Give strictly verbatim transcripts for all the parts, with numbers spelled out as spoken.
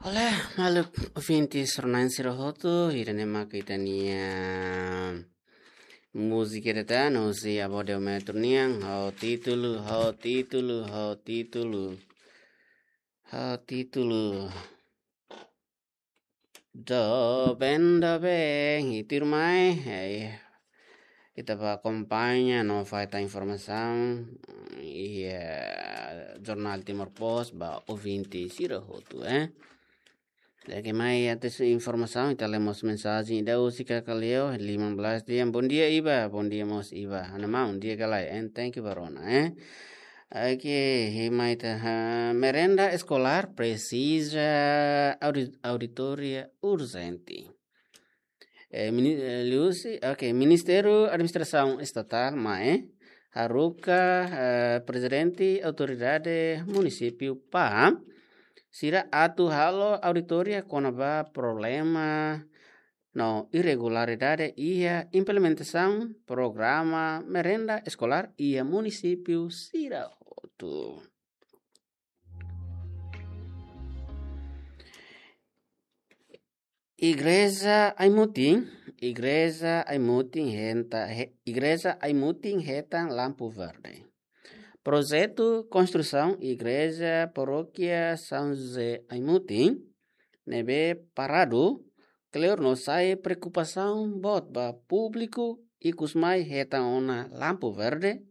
Olá, maluk ouvintes rona-na'in sira hotu, ida-ne'e mak ita-nia múzika ida tan, husi Abódio Metro nian, ho títulu, ho títulu, ho títulu, ho títulu. Doben, doben, i tuirmai, eh, ita bá akompaña no fó tan informasaun iha Jornál Timor Post ba ouvinte sira hotu, eh. Di'ak, mai antes informasaun, ita lee mós mensajen ida husi Kakaleo, Liman Blas dehan, "Bondia, Iba, bondia mós, Iba." Ana maun, di'ak ka lae, eh, thank you ba rona, eh. Oke, i mai ita, ha, merenda eskolár presiza audi-, auditoria urjente. Eh, mini-, eh, liuhusi, oke, Ministériu Administrasaun Estatál, MAE, haruka, eh, Prezidente Autoridade Munisípiu PAM sira atu halo auditoria kona-ba problema no irregularidade iha implementasaun programa merenda eskolár iha munisípiu sira hotu. Igreja Aimutin, Igreja Aimutin heta-, he-, Igreja Aimutin hetan lampu verde. Projetu konstrusaun Igreja Parókia São José Aimutin ne'ebé paradu, kleur no sai preokupasaun boot ba públiku, ikus mai hetan ona lampu verde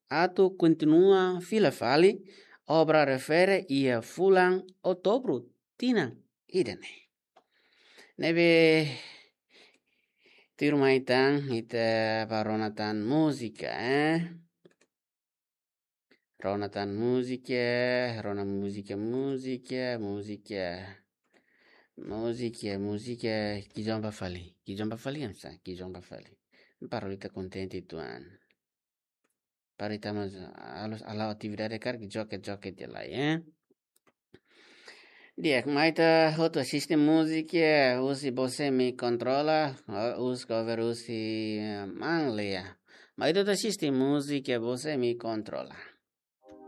atu kontinua fila fali obra refere iha fulan Outubru tinan ida-ne'e. Ne'ebé tuirmai tan, ita bá rona tan múzika, eh. Rona tan múzika, rona múzika, múzika, múzika. Múzika, múzika, ki'ik join ba fali, ki'ik join ba fali, hamsa, ki'ik join ba fali. Para ita kontente tuan. Para ita mós halo, halo atividade karik joget-joget de'it lai, eh. Di'ak, mai ita hotu asiste múzika, husi Você Me Controla, eh, husi cover husi, eh, Manlea. Mai ita hotu asiste múzika, Você Me Controla.